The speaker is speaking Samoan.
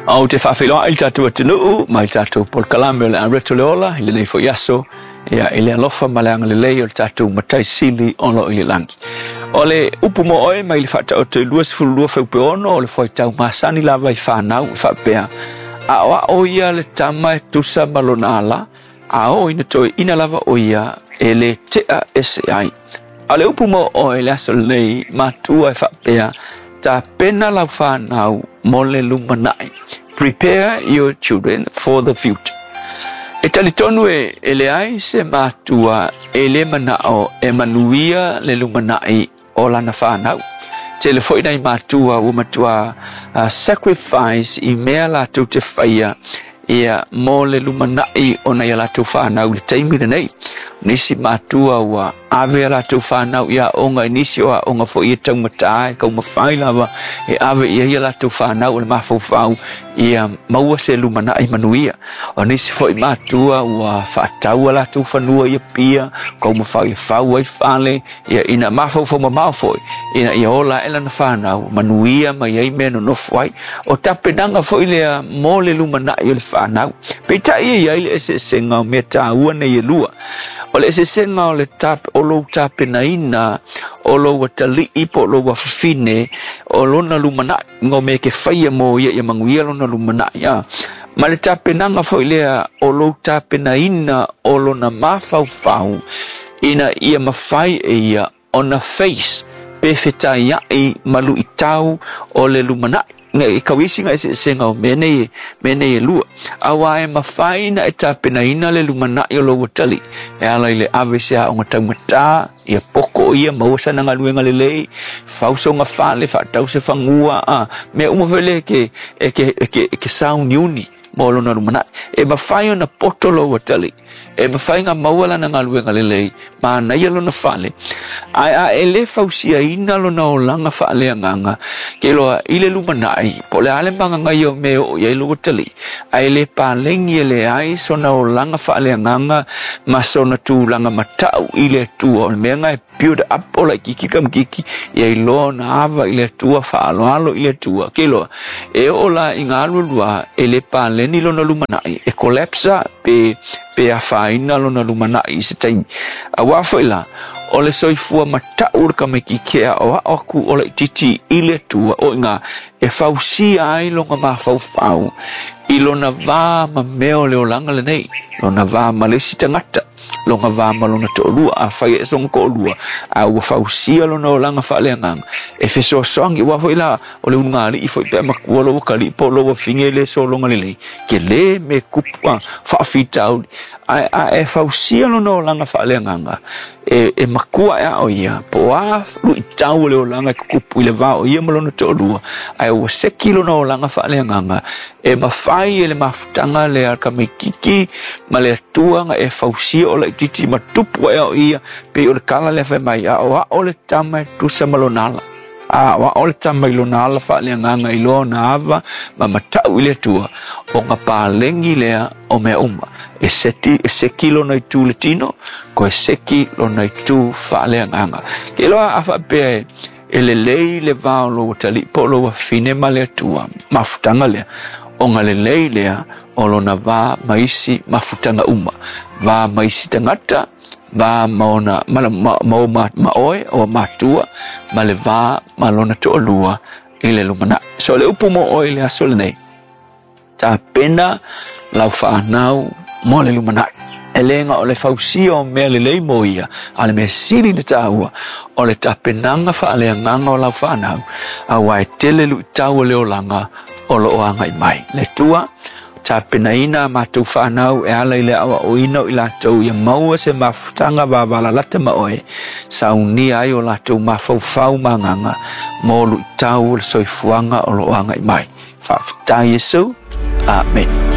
Ou te faafeiloai i le tatou atunuu ma i le tatou polokalame o le Areto le Ola i lenei foi aso, ia, i le alofa ma le agalelei o le tatou Matai Sili o lo o i le lagi. O le upu mo oe mai le Faataoto i 22 fuaiupu 6 o le fuaitau masani lava i fanau e faapea, Aoao ia le tama e tusa ma lona ala, a oo ina toeaina lava o ia e le tea ese ai. A o le upu mo oe i le aso lenei, matua e faapea, Tapena lau fanau mo le lumanai. Prepare your children for the future. E talitonu e, e leai se matua e le manao e manuia le lumanai o lana fanau. Tele foi nai matua ua matua sacrifice i mea latou te faia ia mo le lumanai o nai a latou fanau i le taimi lenei. Nisi matua ua ave a latou fanau i aoga, i nisi o aoga foi e taugata e taumafai lava e ave i ai a latou fanau o le mafaufau ia maua se lumanai manuia. O nisi foi matua ua faatau a latou fanua i Apia, taumafai e fau ai fale, ia ina mafaufau mamao foi ina ia ola ae lana fanau manuia mai ai mea nonofo ai. O tapenaga foi lea mo le lumanai o le fanau. Peitai e i ai le eseesega o mea taua nei e lua. O le eseesega o le tap, o lou tapenaina o lou atalii po o lou afafine o lona lumanai, ngo mea ke faia mo ia ia manuia lona lumanai. A. Ma le tapenaga foi lea o lou tapenaina o lona mafaufau ina ia mafai e ia ona face pe fetaiaʻi ma luitau o le lumanai. E kau isi nga eseesega o mea nei, mea nei e lua. Auā e mafai na e tapenaina le lumanai o lou atalii e ala i le ave i se aoga taugata, ia poko ia, maua sana galuega lelei, fau soga fale, faatau se fagua, a mea uma foi lea e ke, e ke, e ke, e ke sauniuni mo lona lumanai. E mafai ona poto lou atalii, e mafai ona maua lana galuega lelei, manaia lona fale, ae a e le fausiaina lona olaga faaleagaga, ke iloa i le lumanai, po o le a le magagaia o mea e oo i ai lou atalii, ae le paleni e leai sona olaga faaleagaga ma sona tulaga matau i le Atua, o le mea lena e build up o laitiiti tamaitiiti ia iloa ona ava i le Atua, faaaloalo i le Atua. Ke iloa, e oo la i ngā alualua e le paleni lona lumanai, e collapse pe, pe afaina lona lumanai i se taimi. Auā foi la, o le soifua matau o le tamaitiiti e aoao atu o laitiiti i le Atua, o i ngā e fausia ai lona mafaufau i lona va ma mea o le olaga lenei, lona va ma le isi tagata, lona va ma lona toalua, afai e ese lona toalua, a ua fausia lona olaga faaleagaga, e fesoasoani, aua foi la, o le ulugalii foi pe a matua lou atalii po o lou afine e le sologa lelei, tele mea e tupu a faafitauli, ae a e fausia lona olaga faaleagaga, e, e matua ae a o ia, po o a luitau o le olaga e tutupu i le va o ia ma lona toalua, ae ua seki lona olaga faaleagaga, e mafai e le mafutaga lea a le tamaitiiti ma le Atua na e fausia o laitiiti ma tupu ae a o ia, pei o le tala lea fai mai, aoao le tama e tusa ma lona ala. Aoao le tama i lona ala faaleagaga i loa ona ava ma matau i le Atua, ona paleni lea o mea uma. E seti, e seki lona itu i le tino, koe seki lona itu faaleagaga. Ke iloa a faapea e, e lelei le va o lou atalii po o lou afafine ma le Atua, mafutaga lea, ona lelei lea o lona va ma isi mafutaga uma, va ma isi tagata, va ma ona ma, ma, ma, ma, ma oe o matua ma le va ma lona toalua i le lumanai. So le upu mo oe i le aso lenei, tapena lau fanau mo le lumanai. E le na o le fausia o mea lelei mo ia, a o le mea sili ona taua, o le tapenaga faaleagaga o lau fanau, aua e tele luitau o le olaga o lo o agai mai. Le Atua, tapenaina a matou fanau e ala i le aoaoina o i latou ia maua se mafutaga vavalalata ma oe, saunia ai o latou mafaufau ma agaga mo luitau o le soifuaga o lo o agai mai. Faafetai Iesu. Amene.